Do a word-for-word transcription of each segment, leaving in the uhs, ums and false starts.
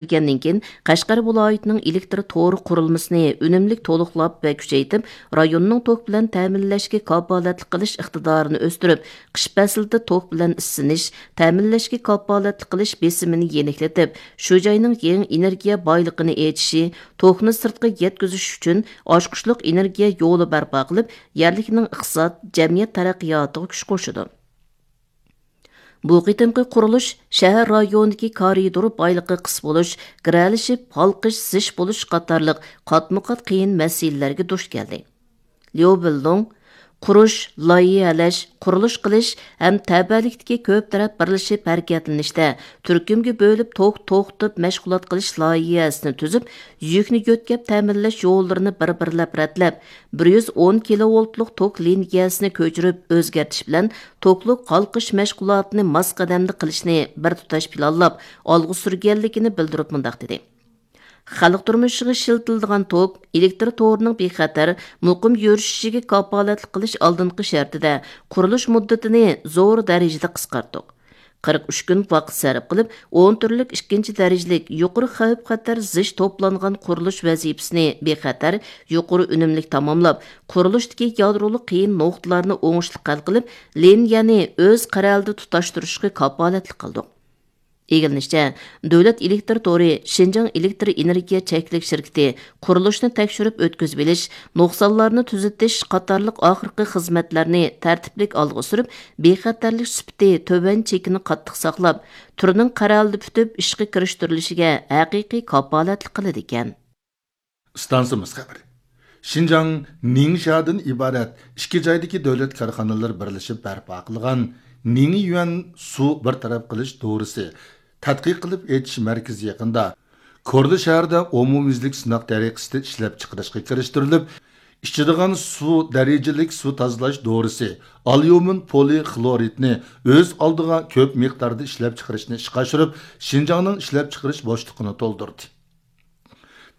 كەلگەندىن كېيىن، قەشقەر ۋىلايىتىنىڭ ئېلېكتر تورى قۇرۇلمىسىنى ئۈنۈملۈك تولۇقلاپ ۋە كۈچەيتىپ، رايوننىڭ توك بىلەن تەمىنلەشكە كاپالەتلىك قىلىش ئىقتىدارىنى ئۆستۈرۈپ، قىش پەسلىدە توك بىلەن ئىسسىنىش، تەمىنلەشكە كاپالەتلىك قىلىش بېسىمىنى يېنىكلىتىپ، شۇ جاينىڭ يېڭى ئېنېرگىيە بايلىقىنى ئېچىشى، توكنى سىرتقا يەتكۈزۈش ئۈچۈن ئاچقۇچلۇق ئېنېرگىيە يولى بەرپا قىلىپ، يەرلىكنىڭ ئىقتىساد، جەمئىيەت تەرەققىياتىغا كۈچ قوشىدۇ. بۇ قېتىمقى قۇرۇلۇش شەھەر رايونىدىكى كارىدور بايلىقى قىس بولۇش، گىرەلىشىپ ھالقىش، زىچ بولۇش قاتارلىق قاتمۇ قات قىيىن مەسىلىلەرگە دۇچ كەلدى. ليۇ بىلدۇڭ، قۇرۇش، لايىھەلەش، قۇرۇلۇش قىلىش ھەم تەۋەلىكتىكى كۆپ تەرەپ بىرلىشىپ ھەرىكەتلىنىشتە تۈركۈمگە بۆلۈپ توك توختىتىپ مەشغۇلات قىلىش لايىھەسىنى تۈزۈپ، يۈكنى يۆتكەپ تەمىنلەش يوللىرىنى بىر بىرلەپ رەتلەپ، بىر يۈز ئون كىلوۋولتلۇق توك لىنىيەسىنى كۆچۈرۈپ ئۆزگەرتىش بىلەن توكلۇق ھالقىش مەشغۇلاتىنى ماس قەدەمدە قىلىشنى بىر تۇتاش پىلانلاپ ئالغا سۈرگەنلىكىنى بىلدۈرۈپ مۇنداق دېدى: خەلق تۇرمۇشىغا ئىشلىتىلىدىغان توك، ئېلېكتر تورىنىڭ بىخەتەر، مۇقىم يۈرۈشۈشىگە كاپالەتلىك قىلىش ئالدىنقى شەرتىدە، قۇرۇلۇش مۇددىتىنى زور دەرىجىدە قىسقارتتۇق. قىرىق ئۈچ كۈن ۋاقىت سەرپ قىلىپ، ئون تۈرلۈك ئىككىنچى دەرىجىلىك يۇقىرى خەۋپ-خەتەر زىچ توپلانغان قۇرۇلۇش ۋەزىپىسىنى بىخەتەر، يۇقىرى ئۈنۈملۈك تاماملاپ، قۇرۇلۇشتىكى يادرولۇق قىيىن نۇقتىلارنى ئوڭۇشلۇق ھەل قىلىپ، لىنىيەنى ئۆز قەرەلىدە تۇتاشتۇرۇشقا كاپالەتلىك قىلدۇق. ئىگىلىنىشىچە، دۆلەت ئېلېكتر تورى شىنجاڭ ئېلېكتر ئېنېرگىيە چەكلىك شىركىتى قۇرۇلۇشنى تەكشۈرۈپ ئۆتكۈزۈۋېلىش، نۇقسانلارنى تۈزىتىش قاتارلىق ئاخىرقى خىزمەتلەرنى تەرتىپلىك ئالغا سۈرۈپ، بىخەتەرلىك سۈپىتى تۆۋەن چېكىنى قاتتىق ساقلاپ، تۈرنىڭ قەرەلدە پۈتۈپ ئىشقا كىرىشتۈرۈلۈشىگە ھەقىقىي كاپالەتلىك قىلىدىكەن. ئىستانسىمىز خەۋىرى. شىنجاڭ نىڭشادىن ئىبارەت ئىككى جايدىكى دۆلەت كارخانىلىرى بىرلىشىپ بەرپا قىلغان نىڭيۈەن سۇ بىر تەرەپ قىلىش دورىسى تەتقىق قىلىپ ئېچىش مەركىزى يېقىندا كورلا شەھىرىدە ئومۇميۈزلۈك سىناق تەرىقىسىدە ئىشلەپچىقىرىشقا كىرىشتۈرۈلۈپ، ئىچىدىغان سۇ دەرىجىلىك سۇ تازىلاش دورىسى ئاليۇمىن پولىخلورىدنى ئۆز ئالدىغا كۆپ مىقداردا ئىشلەپچىقىرىشنى ئىشقا ئاشۇرۇپ، شىنجاڭنىڭ ئىشلەپچىقىرىش بوشلۇقىنى تولدۇردى.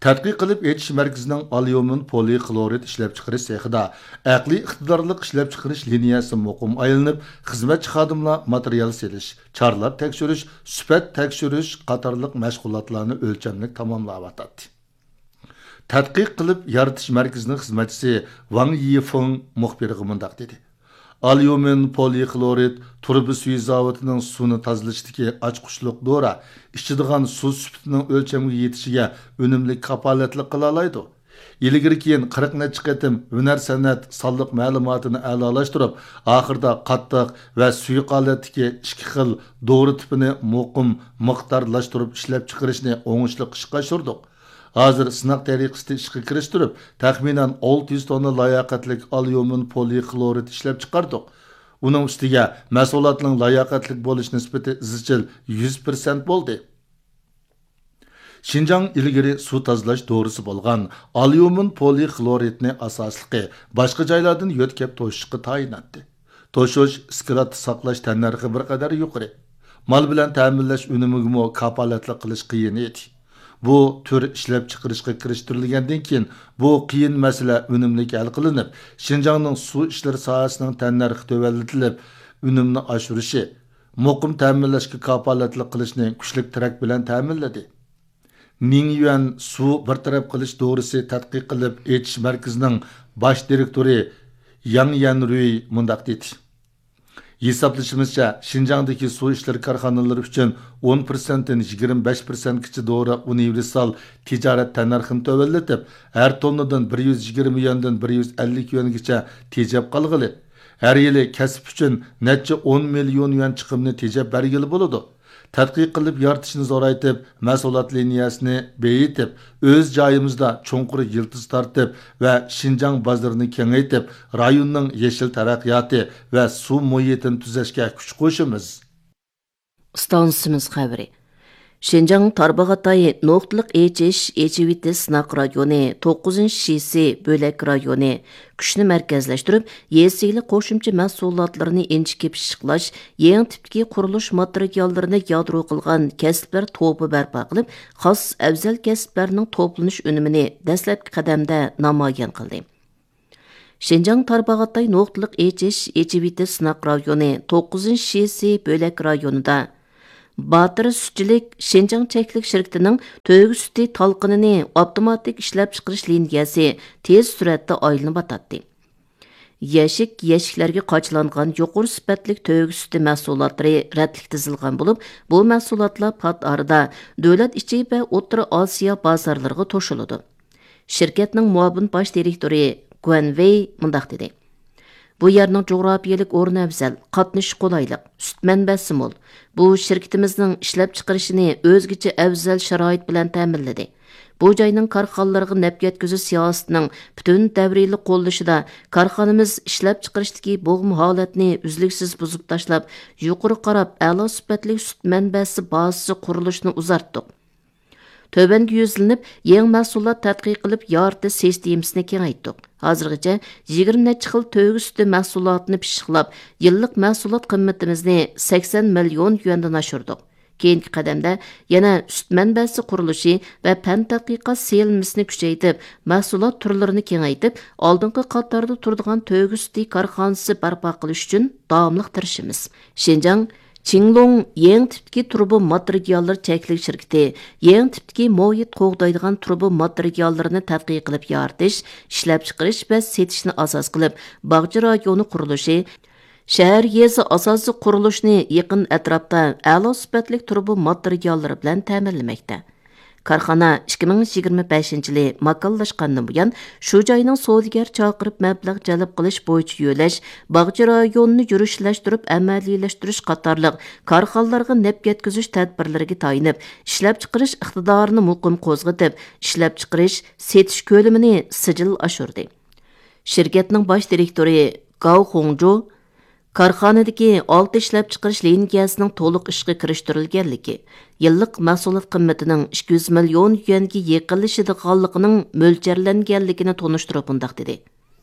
تەتقىق قىلىپ ئېچىش مەركىزىنىڭ ئاليۇمىن پولىخلورىد ئىشلەپچىقىرىش سېخىدا ئەقلىي ئىقتىدارلىق ئىشلەپچىقىرىش لىنىيەسى مۇقىم ئايلىنىپ، خىزمەتچى خادىملار ماتېرىيال سېلىش، چارلاپ تەكشۈرۈش، سۈپەت تەكشۈرۈش قاتارلىق مەشغۇلاتلارنى ئۆلچەملىك تاماملاۋاتاتتى. تەتقىق قىلىپ يارىتىش مەركىزىنىڭ خىزمەتچىسى ۋاڭ يىفېڭ مۇخبىرغا مۇنداق دېدى: ئاليۇمىن پولىخلورىد تۇرۇبا سۈيى زاۋۇتىنىڭ سۇنى تازىلىشىدىكى ئاچقۇچلۇق دورا ئىچىدىغان سۇ سۈپىتىنىڭ ئۆلچەمگە يېتىشىگە ئۈنۈملۈك كاپالەتلىك قىلالايدۇ. ئىلگىرى كېيىن قىرىق نەچچە قېتىم ھۈنەر سەنئەت سانلىق مەلۇماتىنى ئەلالاشتۇرۇپ، ئاخىرىدا قاتتىق ۋە سۇيۇق ھالەتتىكى ئىككى خىل دورا تىپىنى مۇقىم مىقدارلاشتۇرۇپ ئىشلەپچىقىرىشنى ئوڭۇشلۇق ئىشقا ئاشۇردۇق. ھازىر سىناق تەرىقىسىدە ئىشقا كىرىشتۈرۈپ، تەخمىنەن ئالتە يۈز توننا لاياقەتلىك ئاليۇمىن پولىخلورىد ئىشلەپچىقاردۇق. ئۇنىڭ ئۈستىگە مەھسۇلاتنىڭ لاياقەتلىك بولۇش نىسبىتى ئىزچىل يۈز پىرسەنت بولدى. شىنجاڭ ئىلگىرى سۇ تازىلاش دورىسى بولغان ئاليۇمىن پولىخلورىدنى ئاساسلىقى باشقا جايلاردىن يۆتكەپ توشۇشقا تايىناتتى. توشۇش، ئىسكىلاتتا ساقلاش تەننەرخى بىر قەدەر يۇقىرى. مال بىلەن تەمىنلەش ئۈنۈمىگىمۇ كاپالەتلىك قىلىش قىيىن ئىدى. بۇ تۈر ئىشلەپچىقىرىشقا كىرىشتۈرۈلگەندىن كېيىن، بۇ قىيىن مەسىلە ئۈنۈملۈك ھەل قىلىنىپ، شىنجاڭنىڭ سۇ ئىشلىرى ساھەسىنىڭ تەننەرخى تۆۋەنلىتىلىپ، ئۈنۈمنى ئاشۇرۇشى، مۇقىم تەمىنلەشكە كاپالەتلىك قىلىشنى كۈچلۈك تىرەك بىلەن تەمىنلىدى. نىڭيۈەن سۇ بىر تەرەپ قىلىش دورىسى تەتقىق قىلىپ ئېچىش مەركىزىنىڭ باش دىرېكتورى ياڭ يەنرۇي مۇنداق دېدى: ھېسابلىشىمىزچە، شىنجاڭدىكى سۇ ئىشلىرى كارخانىلىرى ئۈچۈن ئون پىرسەنتتىن يىگىرمە بەش پىرسەنتكىچە دورا ئۇنىۋېرسال تىجارەت تەننەرخىنى تۆۋەنلىتىپ، ھەر توننىدىن بىر يۈز يىگىرمە يۈەندىن بىر يۈز ئەللىك يۈەنگىچە تېجەپ قالغىلى، ھەر يىلى كەسىپ ئۈچۈن نەچچە ئون مىليون يۈەن چىقىمنى تېجەپ بەرگىلى بولىدۇ. تەتقىق قىلىپ يارىتىشنى زورايتىپ، مەھسۇلات لىنىيەسىنى بېيىتىپ، ئۆز جايىمىزدا چوڭقۇر يىلتىز تارتىپ ۋە شىنجاڭ بازىرىنى كېڭەيتىپ، رايوننىڭ يېشىل تەرەققىياتى ۋە سۇ مۇھىتىنى تۈزەشكە كۈچ قوشىمىز. ئىستانسىمىز خەۋىرى. شىنجاڭ تارباغاتاي نۇقتىلىق ئېچىش، ئېچىۋېتىش سىناق رايونى، توققۇزىنچى شىسى بۆلەك رايونى كۈچنى مەركەزلەشتۈرۈپ، يېزا ئىگىلىك قوشۇمچە مەھسۇلاتلىرىنى ئىنچىكە پىششىقلاش، يېڭى تىپتىكى قۇرۇلۇش ماتېرىياللىرىنى يادرو قىلغان كەسىپلەر توپى بەرپا قىلىپ، خاس ئەۋزەل كەسىپلەرنىڭ توپلىنىش ئۈنۈمىنى دەسلەپكى قەدەمدە نامايان قىلدى. شىنجاڭ تارباغاتاي نۇقتىلىق ئېچىش، ئېچىۋېتىش سىناق رايونى توققۇزىنچى شىسى بۆلەك رايونىدا باتۇر سۈتچىلىك شىنجاڭ چەكلىك شىركىتىنىڭ تۆگە سۈتى تالقىنىنى ئاپتوماتىك ئىشلەپچىقىرىش لىنىيەسى تېز سۈرئەتتە ئايلىنىۋاتاتتى. يەشىك، يەشىكلەرگە قاچىلانغان يۇقىرى سۈپەتلىك تۆگە سۈتى مەھسۇلاتلىرى رەتلىك تىزىلغان بولۇپ، بۇ مەھسۇلاتلار پات ئارىدا دۆلەت ئىچى ۋە ئوتتۇرا ئاسىيا بازارلىرىغا توشۇلىدۇ. شىركەتنىڭ مۇئاۋىن باش دىرېكتورى گۇەن ۋېي مۇنداق دېدى: بۇ يەرنىڭ جۇغراپىيەلىك ئورنى ئەۋزەل، قاتنىشى قولايلىق، سۈت مەنبەسى مول. بۇ شىركىتىمىزنىڭ ئىشلەپچىقىرىشىنى ئۆزگىچە ئەۋزەل شارائىت بىلەن تەمىنلىدى. بۇ جاينىڭ كارخانىلارغا نەپ يەتكۈزۈش سىياسىتىنىڭ پۈتۈن دەۋرىيلىك قوللىشىدا كارخانىمىز ئىشلەپچىقىرىشتىكى بوغما ھالەتنى ئۈزلۈكسىز بۇزۇپ تاشلاپ، يۇقىرى قاراپ ئەلا سۈپەتلىك سۈت مەنبەسى بازىسى قۇرۇلۇشىنى ئۇزارتتۇق. تۆۋەنگە يۈزلىنىپ، يېڭى مەھسۇلات تەتقىق قىلىپ يارىتىش سىستېمىسىنى كېڭەيتتۇق. ھازىرغىچە يىگىرمە نەچچە خىل تۆگە سۈتى مەھسۇلاتىنى پىششىقلاپ، يىللىق مەھسۇلات قىممىتىمىزنى سەكسەن مىليون يۈەندىن ئاشۇردۇق. كېيىنكى قەدەمدە يەنە سۈت مەنبەسى قۇرۇلۇشى ۋە پەن تەتقىقات سېلىنمىسىنى كۈچەيتىپ، مەھسۇلات تۈرلىرىنى كېڭەيتىپ، ئالدىنقى قاتاردا تۇرىدىغان تۆگە سۈتى كارخانىسى بەرپا قىلىش ئۈچۈن داۋاملىق تىرىشىمىز. شىنجاڭ چىڭلۇڭ يېڭى تىپتىكى تۇرۇبا ماتېرىياللىرى چەكلىك شىركىتى يېڭى تىپتىكى مۇھىت قوغدايدىغان تۇرۇبا ماتېرىياللىرىنى تەتقىق قىلىپ يارىتىش، ئىشلەپچىقىرىش ۋە سېتىشنى ئاساس قىلىپ، باغچە رايونى قۇرۇلۇشى، شەھەر، يېزا ئاساسىي قۇرۇلۇشىنى يېقىن ئەتراپتا ئەلا سۈپەتلىك تۇرۇبا ماتېرىياللىرى بىلەن تەمىنلىمەكتە. كارخانا ئىككى مىڭ يىگىرمە بەشىنچى يىلى ماكانلاشقاندىن بۇيان، شۇ جاينىڭ سودىگەر چاقىرىپ مەبلەغ جەلپ قىلىش بويىچە يۆلەش، باغچە رايونىنى يۈرۈشلەشتۈرۈپ ئەمەلىيلەشتۈرۈش قاتارلىق كارخانىلارغا نەپ يەتكۈزۈش تەدبىرلىرىگە تايىنىپ، ئىشلەپچىقىرىش ئىقتىدارىنى مۇقىم قوزغىتىپ، ئىشلەپچىقىرىش، سېتىش كۆلىمىنى سىجىل ئاشۇردى. شىركەتنىڭ باش دىرېكتورى گاۋ خۇڭجۇ كارخانىدىكى ئالتە ئىشلەپچىقىرىش لىنىيەسىنىڭ تولۇق ئىشقا كىرىشتۈرۈلگەنلىكى، يىللىق مەھسۇلات قىممىتىنىڭ ئىككى يۈز مىليون يۈەنگە يېقىنلىشىدىغانلىقىنىڭ مۆلچەرلەنگەنلىكىنى تونۇشتۇرۇپ مۇنداق دېدى: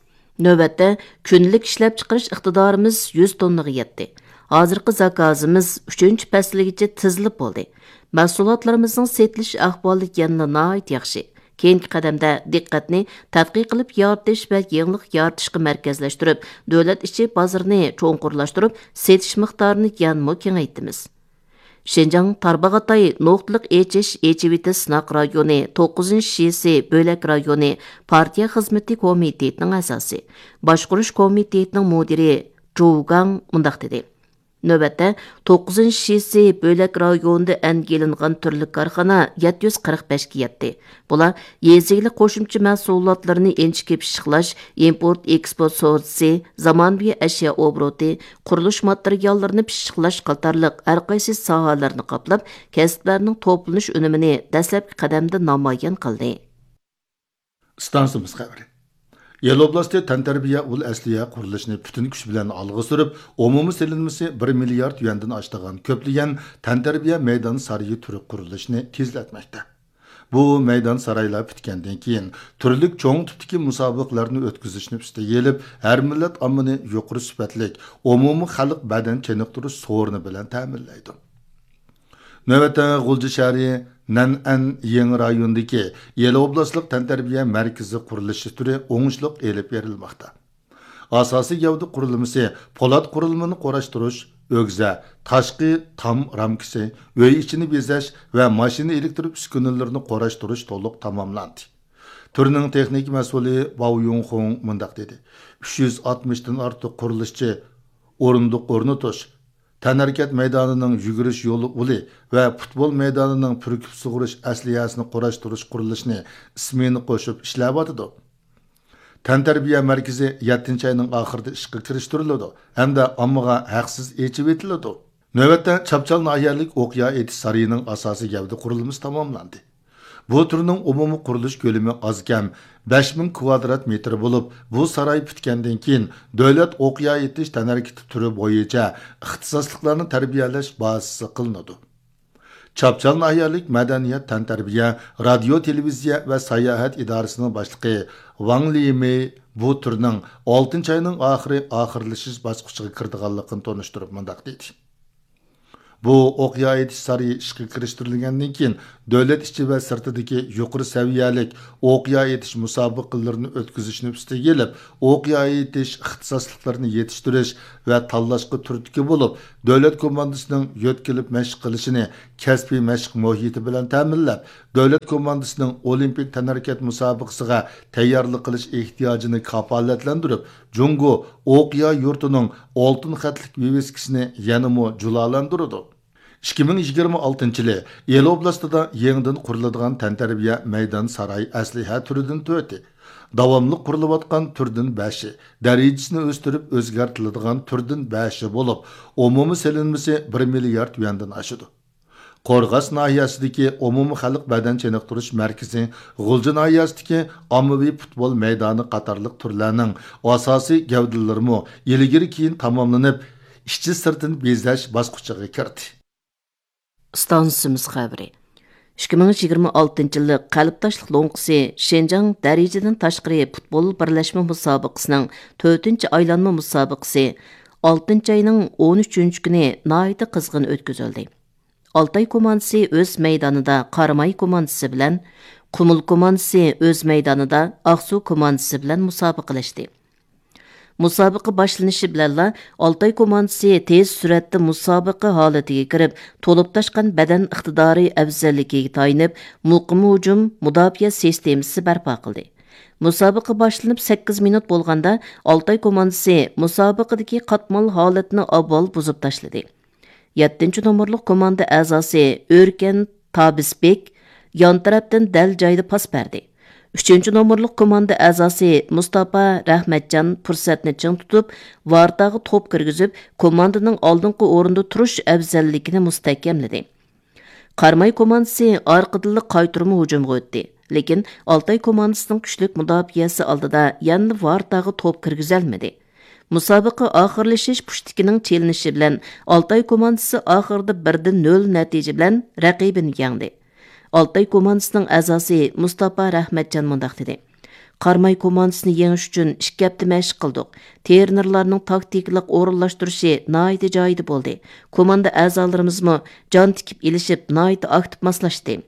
نۆۋەتتە كۈندىلىك ئىشلەپچىقىرىش ئىقتىدارىمىز يۈز توننىغا يەتتى. ھازىرقى زاكازىمىز ئۈچىنچى پەسىلگىچە تىزىلىپ بولدى. مەھسۇلاتلىرىمىزنىڭ سېتىلىش ئەھۋالى يەنىلا ناھايىتى ياخشى. كېيىنكى قەدەمدە دىققەتنى تەتقىق قىلىپ يارىتىش ۋە يېڭىلىق يارىتىشقا مەركەزلەشتۈرۈپ، دۆلەت ئىچى بازىرىنى چوڭقۇرلاشتۇرۇپ، سېتىش مىقدارىنى يەنىمۇ كېڭەيتىمىز. شىنجاڭ تارباغاتاي نۇقتىلىق ئېچىش ئېچىۋېتىش سىناق رايونى توققۇزىنچى شىسى بۆلەك رايونى پارتىيە خىزمىتى كومىتېتىنىڭ ئەزاسى، باشقۇرۇش كومىتېتىنىڭ مۇدىرى جۇ گاڭ مۇنداق دېدى: نۆۋەتتە توققۇزىنچى شىسى بۆلەك رايونىدا ئەنگە ئېلىنغان تۈرلۈك كارخانا يەتتە يۈز قىرىق بەشكە يەتتى. بۇلار يېزا ئىگىلىك قوشۇمچە مەھسۇلاتلىرىنى ئىنچىكە پىششىقلاش، ئىمپورت ئېكسپورت سودىسى، زامانىۋى ئەشيا ئوبوروتى، قۇرۇلۇش ماتېرىياللىرىنى پىششىقلاش قاتارلىق ھەرقايسى ساھەلەرنى قاپلاپ، كەسىپلەرنىڭ توپلىنىش ئۈنۈمىنى دەسلەپكى قەدەمدە نامايان قىلدى. ئىستانسىمىز خەۋىرى. يەلە ئوبلاستى تەنتەربىيە ئۇل ئەسلىھە قۇرۇلۇشىنى پۈتۈن كۈچ بىلەن ئالغا سۈرۈپ، ئومۇمىي سېلىنمىسى بىر مىليارد يۈەندىن ئاشىدىغان كۆپلىگەن تەنتەربىيە مەيدان سارىيى تۈرى قۇرۇلۇشىنى تېزلەتمەكتە. بۇ مەيدان سارايلار پۈتكەندىن كېيىن، تۈرلۈك چوڭ تىپتىكى مۇسابىقىلەرنى ئۆتكۈزۈشنى ئۈستىگە ئېلىپ، ھەر مىللەت ئاممىنى يۇقىرى سۈپەتلىك ئومۇمىي خەلق بەدەن چېنىقتۇرۇش سورۇنى بىلەن تەمىنلەيدۇ. نۆۋەتتە غۇلجا شەھىرى نەنئەن يېڭى رايونىدىكى يەلە ئوبلاستلىق تەنتەربىيە مەركىزى قۇرۇلۇشى تۈرى ئوڭۇشلۇق ئېلىپ بېرىلماقتا. ئاساسىي گەۋدە قۇرۇلمىسى، پولات قۇرۇلمىنى قۇراشتۇرۇش، ئۆگزە، تاشقى تام رامكىسى، ئۆي ئىچىنى بېزەش ۋە ماشىنا ئېلېكتر ئۈسكۈنىلىرىنى قۇراشتۇرۇش تولۇق تاماملاندى. تۈرنىڭ تېخنىكا مەسئۇلى باۋ يۇڭخۇڭ مۇنداق دېدى: ئۈچ يۈز ئاتمىشتىن ئارتۇق قۇرۇلۇشچى ئورۇندۇق ئورنىتىش، تەنھەرىكەت مەيدانىنىڭ يۈگۈرۈش يولى ئۇلى ۋە پۇتبول مەيدانىنىڭ پۈركۈپ سۇغۇرۇش ئەسلىھەسىنى قۇراشتۇرۇش قۇرۇلۇشىنى ئىسمېنا قوشۇپ ئىشلەۋاتىدۇ. تەنتەربىيە مەركىزى يەتتىنچى ئاينىڭ ئاخىرىدا ئىشقا كىرىشتۈرۈلىدۇ ھەمدە ئاممىغا ھەقسىز ئېچىۋېتىلىدۇ. نۆۋەتتە چاپچال ناھىيەلىك ئوقيا ئېتىش سارىيىنىڭ ئاساسىي گەۋدە قۇرۇلمىسى تاماملاندى. بۇ تۈرنىڭ ئومۇمىي قۇرۇلۇش كۆلىمى ئازكەم بەش مىڭ كۋادرات مېتىر بولۇپ، بۇ ساراي پۈتكەندىن كېيىن، دۆلەت ئوقيا ئېتىش تەنھەرىكىتى تۈرى بويىچە ئىختىساسلىقلارنى تەربىيەلەش بازىسى قىلىنىدۇ. چاپچال ناھىيەلىك مەدەنىيەت، تەنتەربىيە، رادىيو، تېلېۋىزىيە ۋە ساياھەت ئىدارىسىنىڭ باشلىقى ۋاڭ لىمېي بۇ تۈرنىڭ ئالتىنچى ئاينىڭ ئاخىرى ئاخىرلىشىش باسقۇچىغا كىرىدىغانلىقىنى تونۇشتۇرۇپ مۇنداق دېدى: بۇ ئوق ياي ئېتىش سارىيى ئىشقا كىرىشتۈرۈلگەندىن كېيىن، دۆلەت ئىچى ۋە سىرتىدىكى يۇقىرى سەۋىيەلىك ئوق ياي ئېتىش مۇسابىقىلىرىنى ئۆتكۈزۈشنى ئۈستىگە ئېلىپ، ئوق ياي ئېتىش ئىختىساسلىقلىرىنى يېتىشتۈرۈش ۋە تاللاشقا تۈرتكە بولۇپ، دۆلەت كوماندىسىنىڭ يۆتكىلىپ مەشىق قىلىشىنى كەسپىي مەشىق مۇھىتى بىلەن تەمىنلەپ، دۆلەت كوماندىسىنىڭ ئولىمپىك تەنھەرىكەت مۇسابىقىسىغا تەييارلىق قىلىش ئېھتىياجىنى كاپالەتلەندۈرۈپ، جۇڭگو ئوقيا يۇرتىنىڭ ئالتۇن خەتلىك ۋىۋىسكىسىنى يەنىمۇ جۇلالەندۈرىدۇ. ئىككى مىڭ يىگىرمە ئالتىنچى يىلى ئىلى ئوبلاستىدا يېڭىدىن قۇرۇلىدىغان تەنتەربىيە مەيدان ساراي ئەسلىھە تۈرىدىن تۆتى، داۋاملىق قۇرۇلۇۋاتقان تۈردىن بەشى، دەرىجىسىنى ئۆستۈرۈپ ئۆزگەرتىلىدىغان تۈردىن بەشى بولۇپ، ئومۇمىي سېلىنمىسى بىر مىليارد يۈەندىن ئاشىدۇ. قورغاس ناھىيەسىدىكى ئومۇمىي خەلق بەدەن چېنىقتۇرۇش مەركىزى، غۇلجا ناھىيەسىدىكى ئاممىۋى پۇتبول مەيدانى قاتارلىق تۈرلەرنىڭ ئاساسىي گەۋدىلىرىمۇ ئىلگىرى كېيىن تاماملىنىپ، ئىچى سىرتىنى بېزەش باسقۇچىغا كىردى. ئىستانسىمىز خەۋىرى. ئىككى مىڭ يىگىرمە ئالتىنچى يىللىق قەلبداشلىق لوڭقىسى شىنجاڭ دەرىجىدىن تاشقىرى پۇتبول بىرلەشمە مۇسابىقىسىنىڭ تۆتىنچى ئايلانما مۇسابىقىسى ئالتىنچى ئاينىڭ ئون ئۈچىنچى كۈنى ناھايىتى قىزغىن ئۆتكۈزۈلدى. ئالتاي كوماندىسى ئۆز مەيدانىدا قاراماي كوماندىسى بىلەن، قۇمۇل كوماندىسى ئۆز مەيدانىدا ئاقسۇ كوماندىسى بىلەن مۇسابىقىلەشتى. مۇسابىقە باشلىنىشى بىلەنلا ئالتاي كوماندىسى تېز سۈرئەتتە مۇسابىقە ھالىتىگە كىرىپ، تولۇپ تاشقان بەدەن ئىقتىدارى ئەۋزەللىكىگە تايىنىپ، مۇقىم ھۇجۇم، مۇداپىئە سىستېمىسى بەرپا قىلدى. مۇسابىقە باشلىنىپ سەككىز مىنۇت بولغاندا، ئالتاي كوماندىسى مۇسابىقىدىكى قاتمال ھالەتنى ئاۋۋال بۇزۇپ تاشلىدى. يەتتىنچى نومۇرلۇق كوماندا ئەزاسى ئۆركەن تابىسبېك يان تەرەپتىن دەل جايدا پاس بەردى. ئۈچىنچى نومۇرلۇق كوماندا ئەزاسى مۇستاپا رەھمەتجان پۇرسەتنى چىڭ تۇتۇپ، ۋارتاغا توپ كىرگۈزۈپ، كوماندىنىڭ ئالدىنقى ئورۇندا تۇرۇش ئەۋزەللىكىنى مۇستەھكەملىدى. قاراماي كوماندىسى ئارقىدىنلا قايتۇرما ھۇجۇمغا ئۆتتى. لېكىن ئالتاي كوماندىسىنىڭ كۈچلۈك مۇداپىئەسى ئالدىدا يەنىلا ۋارتاغا توپ كىرگۈزەلمىدى. مۇسابىقە ئاخىرلىشىش پۇشتىكىنىڭ چېلىنىشى بىلەن ئالتاي كوماندىسى ئاخىرىدا بىردە نۆل نەتىجە بىلەن رەقىبىنى يەڭدى. ئالتاي كوماندىسىنىڭ ئەزاسى مۇستاپا رەھمەتجان مۇنداق دېدى: قاراماي كوماندىسىنى يېڭىش ئۈچۈن ئىككى ھەپتە مەشىق قىلدۇق. ترېنېرلارنىڭ تاكتىكىلىق ئورۇنلاشتۇرۇشى ناھايىتى جايىدا بولدى. كوماندا ئەزالىرىمىزمۇ جان تىكىپ ئېلىشىپ، ناھايىتى ئاكتىپ ماسلاشتى.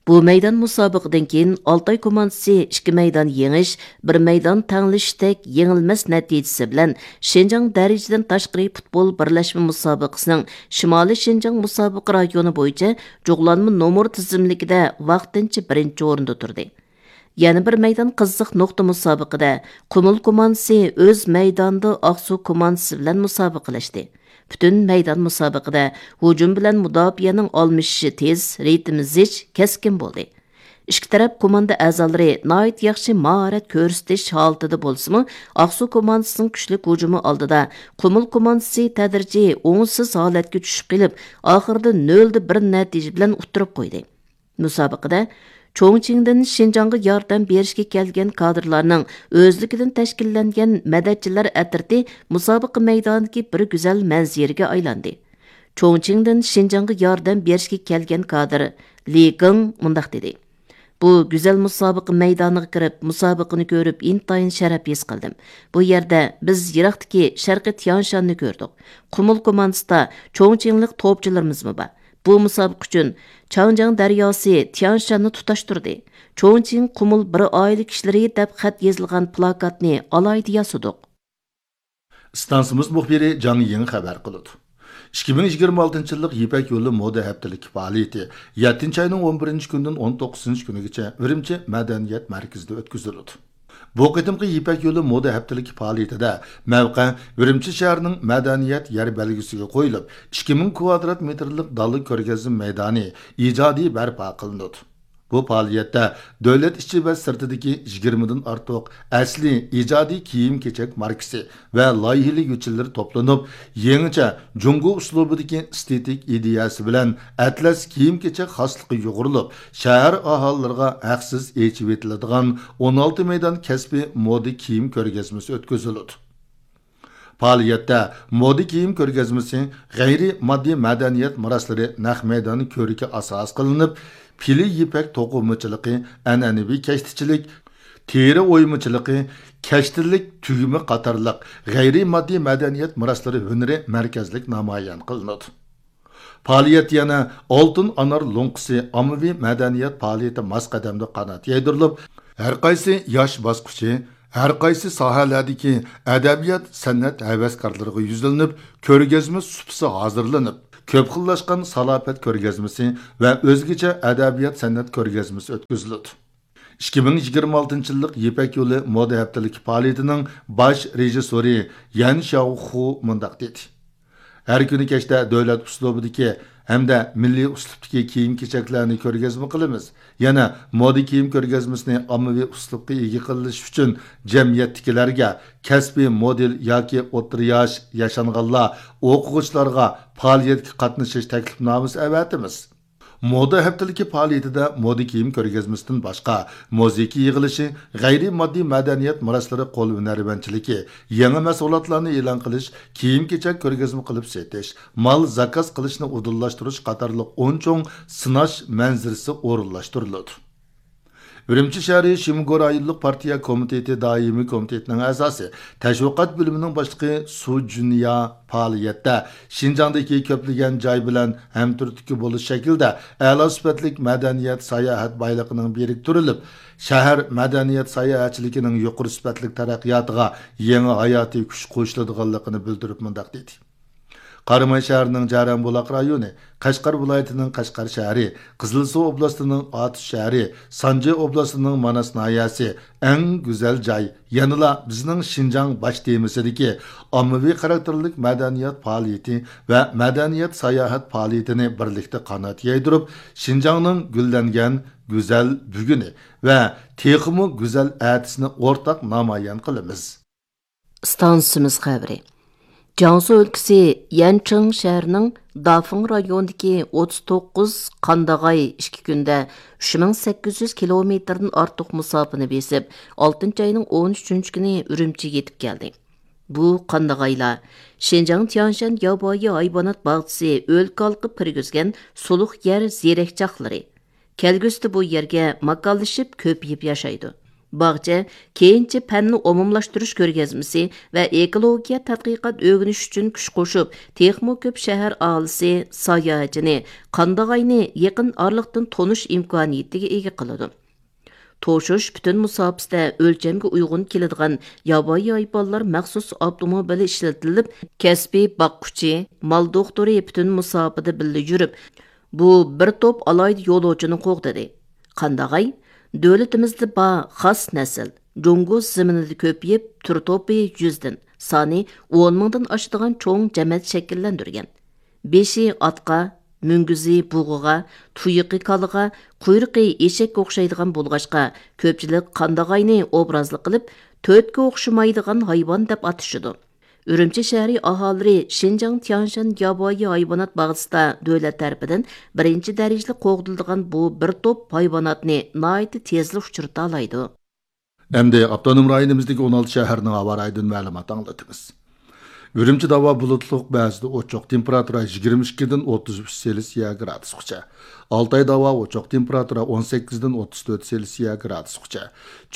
بۇ مەيدان مۇسابىقىدىن كېيىن ئالتاي كوماندىسى ئىككى مەيدان يېڭىش، بىر مەيدان تەڭلىشىشتەك يېڭىلمەس نەتىجىسى بىلەن شىنجاڭ دەرىجىدىن تاشقىرى پۇتبول بىرلەشمە مۇسابىقىسىنىڭ شىمالىي شىنجاڭ مۇسابىقە رايونى بويىچە جۇغلانما نومۇر تىزىملىكىدە ۋاقتىنچە بىرىنچى ئورۇندا تۇردى. يەنە بىر مەيدان قىزىق نۇقتا مۇسابىقىدە قۇمۇل كوماندىسى ئۆز مەيدانىدا ئاقسۇ كوماندىسى بىلەن مۇسابىقىلەشتى. پۈتۈن مەيدان مۇسابىقىدە ھۇجۇم بىلەن مۇداپىئەنىڭ ئالمىشىشى تېز، رىتىمى زىچ، كەسكىن بولدى. ئىككى تەرەپ كوماندا ئەزالىرى ناھايىتى ياخشى ماھارەت كۆرسىتىش ھالىتىدە بولسىمۇ، ئاقسۇ كوماندىسىنىڭ كۈچلۈك ھۇجۇمى ئالدىدا قۇمۇل كوماندىسى تەدرىجىي ئوڭۇشسىز ھالەتكە چۈشۈپ قېلىپ، ئاخىرىدا نۆلدە بىر نەتىجە بىلەن ئۇتتۇرۇپ قويدى. مۇسابىقىدە چوڭچىڭدىن شىنجاڭغا ياردەم بېرىشكە كەلگەن كادىرلارنىڭ ئۆزلۈكىدىن تەشكىللەنگەن مەدەتچىلەر ئەترىتى مۇسابىقە مەيدانىدىكى بىر گۈزەل مەنزىرىگە ئايلاندى. چوڭچىڭدىن شىنجاڭغا ياردەم بېرىشكە كەلگەن كادىر لى گېڭ مۇنداق دېدى: بۇ گۈزەل مۇسابىقە مەيدانىغا كىرىپ، مۇسابىقىنى كۆرۈپ، ئىنتايىن شەرەپ ھېس قىلدىم. بۇ يەردە بىز يىراقتىكى شەرقىي تيانشاننى كۆردۇق. قۇمۇل كوماندىسىدا چوڭچىڭلىق توپچىلىرىمىزمۇ بار. بۇ مۇسابىقە ئۈچۈن چاڭجياڭ دەرياسى تيانشاننى تۇتاشتۇردى. چوڭچىڭ قۇمۇل بىر ئائىلە كىشىلىرى دەپ خەت يېزىلغان پلاكاتنى ئالاھىدە ياسىدۇق. ئىستانسىمىز مۇخبىرى جاڭ يىڭ خەۋەر قىلىدۇ. ئىككى مىڭ يىگىرمە ئالتىنچى يىللىق يىپەك يولى مودا ھەپتىلىكى پائالىيىتى يەتتىنچى ئاينىڭ ئون بىرىنچى كۈنىدىن ئون توققۇزىنچى كۈنىگىچە ئۈرۈمچى مەدەنىيەت مەركىزىدە ئۆتكۈزۈلىدۇ. بۇ قېتىمقى يىپەك يولى مودا ھەپتىلىكى پائالىيىتىدە مەۋقە ئۈرۈمچى شەھىرىنىڭ مەدەنىيەت يەر بەلگىسىگە قويۇلۇپ، ئىككى مىڭ كۋادرات مېتىرلىق دالا كۆرگەزمە مەيدانى ئىجادىي بەرپا قىلىنىدۇ. بۇ پائالىيەتتە دۆلەت ئىچى ۋە سىرتىدىكى يىگىرمىدىن ئارتۇق ئەسلىي ئىجادىي كىيىم-كېچەك ماركىسى ۋە لايىھىلىگۈچىلەر توپلىنىپ، يېڭىچە جۇڭگو ئۇسلۇبىدىكى ئېستېتىك ئىدىيەسى بىلەن ئەتلەس كىيىم-كېچەك خاسلىقى يۇغۇرۇلۇپ، شەھەر ئاھالىلىرىغا ھەقسىز ئېچىۋېتىلىدىغان ئون ئالتە مەيدان كەسپىي مودا كىيىم كۆرگەزمىسى ئۆتكۈزۈلىدۇ. پائالىيەتتە مودا كىيىم كۆرگەزمىسى، غەيرىي ماددىي مەدەنىيەت مىراسلىرى نەق مەيدان كۆرىكى ئاساس قىلىنىپ، پىلە يىپەك توقۇمىچىلىقى، ئەنئەنىۋى كەشتىچىلىك، تېرە ئويمىچىلىقى، كەشتىلىك تۈگمە قاتارلىق غەيرىي ماددىي مەدەنىيەت مىراسلىرى ھۈنىرى مەركەزلىك نامايان قىلىنىدۇ. پائالىيەت يەنە ئالتۇن ئانار لوڭقىسى ئاممىۋى مەدەنىيەت پائالىيىتى ماس قەدەمدە قانات يايدۇرۇلۇپ، ھەرقايسى ياش باسقۇچى، ھەرقايسى ساھەلەردىكى ئەدەبىيات، سەنئەت ھەۋەسكارلىرىغا يۈزلىنىپ، كۆرگەزمە سۇپىسى ھازىرلىنىپ، كۆپ خىللاشقان سالاپەت كۆرگەزمىسى ۋە ئۆزگىچە ئەدەبىيات، سەنئەت كۆرگەزمىسى ئۆتكۈزۈلىدۇ. ئىككى مىڭ يىگىرمە ئالتىنچى يىللىق يىپەك يولى مودا ھەپتىلىكى پائالىيىتىنىڭ باش رېژىسسورى يەن شياۋخۇ مۇنداق دېدى: ھەر كۈنى كەچتە دۆلەت ئۇسلۇبىدىكى ھەمدە مىللىي ئۇسلۇبتىكى كىيىم-كېچەكلەرنى كۆرگەزمە قىلىمىز. يەنە مودا كىيىم كۆرگەزمىسىنى ئاممىۋى ئۇسلۇبقا ئىگە قىلىش ئۈچۈن جەمئىيەتتىكىلەرگە، كەسپىي مودېل ياكى ئوتتۇرا ياش، ياشانغانلار، ئوقۇغۇچىلارغا پائالىيەتكە قاتنىشىش تەكلىپنامىسى ئەۋەتىمىز. مودا ھەپتىلىكى پائالىيىتىدە مودا كىيىم كۆرگەزمىسىدىن باشقا، مۇزىكا يىغىلىشى، غەيرىي ماددىي مەدەنىيەت مىراسلىرى، قول ھۈنەرۋەنچىلىكى، يېڭى مەھسۇلاتلارنى ئېلان قىلىش، كىيىم-كېچەك كۆرگەزمە قىلىپ سېتىش، مال زاكاز قىلىشنى ئۇدۇللاشتۇرۇش قاتارلىق ئون چوڭ سىناش مەنزىرىسى ئورۇنلاشتۇرۇلىدۇ. ئۈرۈمچى شەھىرى شىمگو رايونلۇق پارتىيە كومىتېتى دائىمىي كومىتېتىنىڭ ئەزاسى، تەشۋىقات بۆلۈمىنىڭ باشلىقى سۇ جۈنيا پائالىيەتتە شىنجاڭدىكى كۆپلىگەن جاي بىلەن ھەمتۈرتكە بولۇش شەكلىدە ئەلا سۈپەتلىك مەدەنىيەت، ساياھەت بايلىقىنىڭ بىرىكتۈرۈلۈپ، شەھەر مەدەنىيەت ساياھەتچىلىكىنىڭ يۇقىرى سۈپەتلىك تەرەققىياتىغا يېڭى ھاياتىي كۈچ قوشۇلىدىغانلىقىنى بىلدۈرۈپ مۇنداق دېدى: قاراماي شەھىرىنىڭ جەرەنبۇلاق رايونى، قەشقەر ۋىلايىتىنىڭ قەشقەر شەھىرى، قىزىلسۇ ئوبلاستىنىڭ ئاتۇش شەھىرى، سانجى ئوبلاستىنىڭ ماناس ناھىيەسى ئەڭ گۈزەل جاي، يەنىلا بىزنىڭ شىنجاڭ باش تېمىسىدىكى ئاممىۋى خاراكتېرلىك مەدەنىيەت پائالىيىتى ۋە مەدەنىيەت ساياھەت پائالىيىتىنى بىرلىكتە قانات يايدۇرۇپ، شىنجاڭنىڭ گۈللەنگەن گۈزەل بۈگۈنى ۋە تېخىمۇ گۈزەل ئەتىسىنى ئورتاق نامايان قىلىمىز. ئىستانسىمىز خەۋىرى. جياڭسۇ ئۆلكىسى يەنچىڭ شەھىرىنىڭ دافېڭ رايونىدىكى ئوتتۇز توققۇز قانداغاي ئىككى كۈندە ئۈچ مىڭ سەككىز يۈز كىلومېتىردىن ئارتۇق مۇساپىنى بېسىپ، ئالتىنچى ئاينىڭ ئون ئۈچىنچى كۈنى ئۈرۈمچىگە يېتىپ كەلدى. بۇ قانداغايلار شىنجاڭ تيانشان ياۋايى ھايۋانات باغچىسى ئۆلكە ھالقىپ كىرگۈزگەن سۇلۇق يەر زېرەكچاقلىرى. كەلگۈسىدە بۇ يەرگە ماكانلىشىپ، كۆپىيىپ ياشايدۇ. باغچە كېيىنچە پەننى ئومۇملاشتۇرۇش كۆرگەزمىسى ۋە ئېكولوگىيە تەتقىقات ئۆگىنىش ئۈچۈن كۈچ قوشۇپ، تېخىمۇ كۆپ شەھەر ئاھالىسى، ساياھەتچىنى، قانداغاينى يېقىن ئارىلىقتىن تونۇش ئىمكانىيىتىگە ئىگە قىلىدۇ. توشۇش پۈتۈن مۇساپىسىدە ئۆلچەمگە ئۇيغۇن كېلىدىغان ياۋايى ھايۋانلار مەخسۇس ئاپتوموبىلى ئىشلىتىلىپ، كەسپىي باققۇچى، مال دوختۇرى پۈتۈن مۇساپىدە بىللە يۈرۈپ، بۇ بىر توپ ئالاھىدە يولۇچىنى قوغدىدى. قانداغاي دۆلىتىمىزدە بار خاس نەسىل، جۇڭگو زېمىنىدا كۆپىيىپ، تۈر توپى يۈزدىن، سانى ئون مىڭدىن ئاشىدىغان چوڭ جەمەت شەكىللەندۈرگەن. بېشى ئاتقا، مۈڭگۈزى بۇغىغا، تۇيىقى كالىغا، قۇيرۇقى ئېشەككە ئوخشايدىغان بولغاچقا، كۆپچىلىك قانداغاينى ئوبرازلىق قىلىپ، تۆتكە ئوخشىمايدىغان ھايۋان دەپ ئاتىشىدۇ. ئۈرۈمچى شەھىرى ئاھالىلىرى شىنجاڭ تيانشان ياۋايى ھايۋانات باغچىسىدا دۆلەت تەرىپىدىن بىرىنچى دەرىجىلىك قوغدىلىدىغان بۇ بىر توپ ھايۋاناتنى ناھايىتى تېزلا ئۇچرىتالايدۇ. ئەمدى ئاپتونوم رايونىمىزدىكى ئون ئالتە شەھەرنىڭ ھاۋا رايىدىن مەلۇمات ئاڭلىتىمىز. ئۈرۈمچىدە ھاۋا بۇلۇتلۇق، بەزىدە ئوچۇق، تېمپېراتۇرا يىگىرمە ئىككىدىن ئوتتۇز ئۈچ سېلسىيە گرادۇسقىچە. ئالتايدا ھاۋا ئوچۇق، تېمپېراتۇرا ئون سەككىزدىن ئوتتۇز تۆت سېلسىيە گرادۇسقىچە.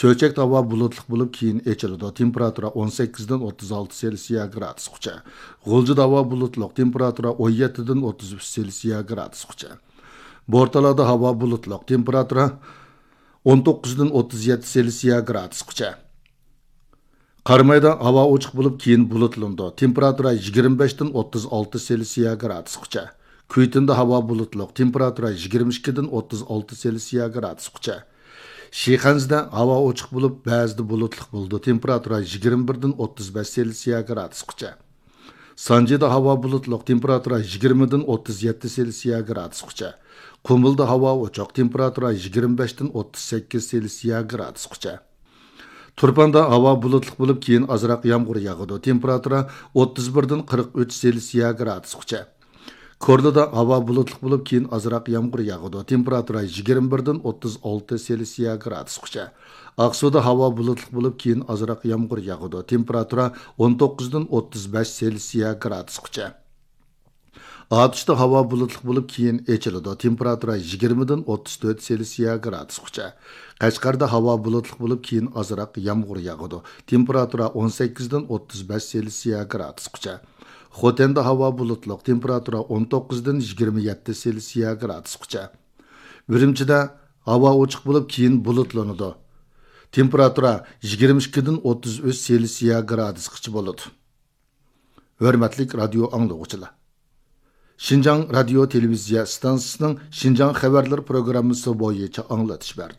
چۆچەكتە ھاۋا بۇلۇتلۇق بولۇپ، كېيىن ئېچىلىدۇ، تېمپېراتۇرا ئون سەككىزدىن ئوتتۇز ئالتە سېلسىيە گرادۇسقىچە. غۇلجىدا ھاۋا بۇلۇتلۇق، تېمپېراتۇرا ئون يەتتىدىن ئوتتۇز ئۈچ سېلسىيە گرادۇسقىچە. بورتالادا ھاۋا بۇلۇتلۇق، تېمپېراتۇرا ئون توققۇزدىن ئوتتۇز يەتتە سېلسىيە گرادۇسقىچە. قارامايدا ھاۋا ئوچۇق بولۇپ، كېيىن بۇلۇتلىنىدۇ. تېمپېراتۇرا يىگىرمە بەشتىن ئوتتۇز ئالتە سېلسىيە گرادۇسقىچە. كۈيتىندا ھاۋا بۇلۇتلۇق، تېمپېراتۇرا يىگىرمە ئىككىدىن ئوتتۇز ئالتە سېلسىيە گرادۇسقىچە. شىخەنزىدە ھاۋا ئوچۇق بولۇپ، بەزىدە بۇلۇتلۇق بولىدۇ، تېمپېراتۇرا يىگىرمە بىردىن ئوتتۇز بەش سېلسىيە گرادۇسقىچە. سانجىدا ھاۋا بۇلۇتلۇق، تېمپېراتۇرا يىگىرمىدىن ئوتتۇز يەتتە سېلسىيە گرادۇسقىچە. قۇمۇلدا ھاۋا ئوچۇق، تېمپېراتۇرا يىگىرمە بەشتىن ئوتتۇز سەككىز سېلسىيە گرادۇسقىچە. تۇرپاندا ھاۋا بۇلۇتلۇق بولۇپ، كېيىن ئازراق يامغۇر ياغىدۇ، تېمپېراتۇرا ئوتتۇز بىردىن قىرىق ئۈچ سېلسىيە گرادۇسقىچە. كورلىدا ھاۋا بۇلۇتلۇق بولۇپ، كېيىن ئازراق يامغۇر ياغىدۇ، تېمپېراتۇرا يىگىرمە بىردىن ئوتتۇز ئالتە سېلسىيە گرادۇسقىچە. ئاقسۇدا ھاۋا بۇلۇتلۇق بولۇپ، كېيىن ئازراق يامغۇر ياغىدۇ، تېمپېراتۇرا ئون توققۇزدىن ئوتتۇز بەش سېلسىيە گرادۇسقىچە. ئاتۇشتا ھاۋا بۇلۇتلۇق بولۇپ، كېيىن ئېچىلىدۇ، تېمپېراتۇرا يىگىرمىدىن ئوتتۇز تۆت سېلسىيە گرادۇسقىچە. قەشقەردە ھاۋا بۇلۇتلۇق بولۇپ، كېيىن ئازراق يامغۇر ياغىدۇ، تېمپېراتۇرا ئون سەككىزدىن ئوتتۇز بەش سېلسىيە گرادۇسقىچە. خوتەندە ھاۋا بۇلۇتلۇق، تېمپېراتۇرا ئون توققۇزدىن يىگىرمە يەتتە سېلسىيە گرادۇسقىچە. ئۈرۈمچىدە ھاۋا ئوچۇق بولۇپ، كېيىن بۇلۇتلىنىدۇ. تېمپېراتۇرا يىگىرمە ئىككىدىن ئوتتۇز ئۈچ سېلسىيە گرادۇسقىچە بولىدۇ. ھۆرمەتلىك رادىيو ئاڭلىغۇچىلار! شىنجاڭ رادىيو تېلېۋىزىيە ئىستانسىسىنىڭ شىنجاڭ خەۋەرلىرى پروگراممىسى بويىچە ئاڭلىتىش بەردۇق.